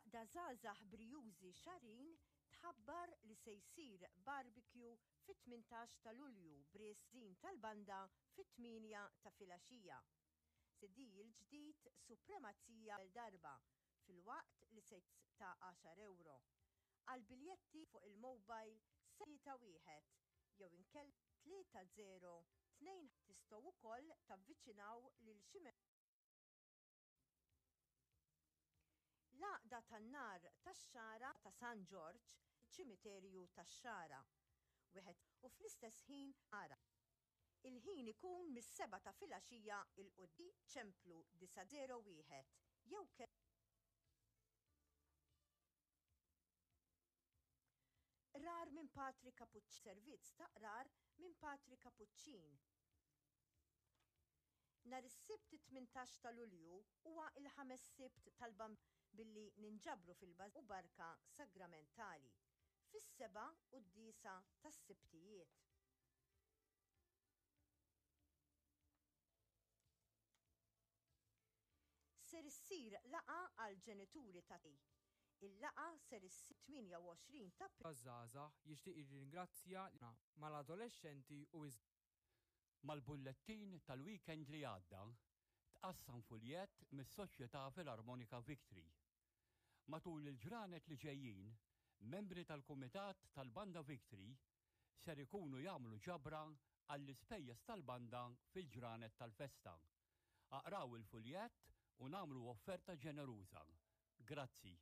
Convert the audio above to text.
L-Għaqda Żgħażagħ Brijużi Xagħrin tħabbar li se jsir barbecue fit-18 ta' Lulju b'riżin tal-banda fit-tmienja ta' filgħaxija. CD il-ġdid Supremazija l darba filwaqt li se ta' għaxar ewro. Għall-biljetti fuq il-mobile 31 jew inkella 3 0 2 Tistgħu wkoll tavviċinaw lil xi L-Għaqda tan-Nar tax-Xagħra ta' San Ġorġ, Ċimiterju tax-Xagħra. Wieħed u fl-istess ħin ara. Il-ħin ikun mis-sebgħa ta' filgħaxija 'l quddiem. Ċemplu 901 jew ke. Qrar minn Patri Kapuċċin Servizz ta' qrar minn Patri Kapuċċin. Nhar is-Sibt it-18 ta' Lulju huwa l-ħames Sibt tal-Bambin billi ninġabru fil-Bażilika u Barka Sagramentali fis-seba' quddiesa tas-Sibtijiet. Ser issir laqgħa għall-ġenituri ta' Il-laqgħa ser issir 28 ta' April. Żgħażagħ jixtieq jirringrazzja lil. Mal-adolexxenti u iż. Mal-bullettin tal-weekend li għadda, tqassam fuljett mis-Soċjetà Filarmonika Victory. Matul il-ġranet li ġejjin, membri tal-Kumitat tal-Banda Victory ser ikunu jagħmlu ġabra għall-ispejjeż tal-banda fil-ġranet tal-festa. Aqraw il-fuljett u nagħmlu offerta ġeneruża. Grazzi.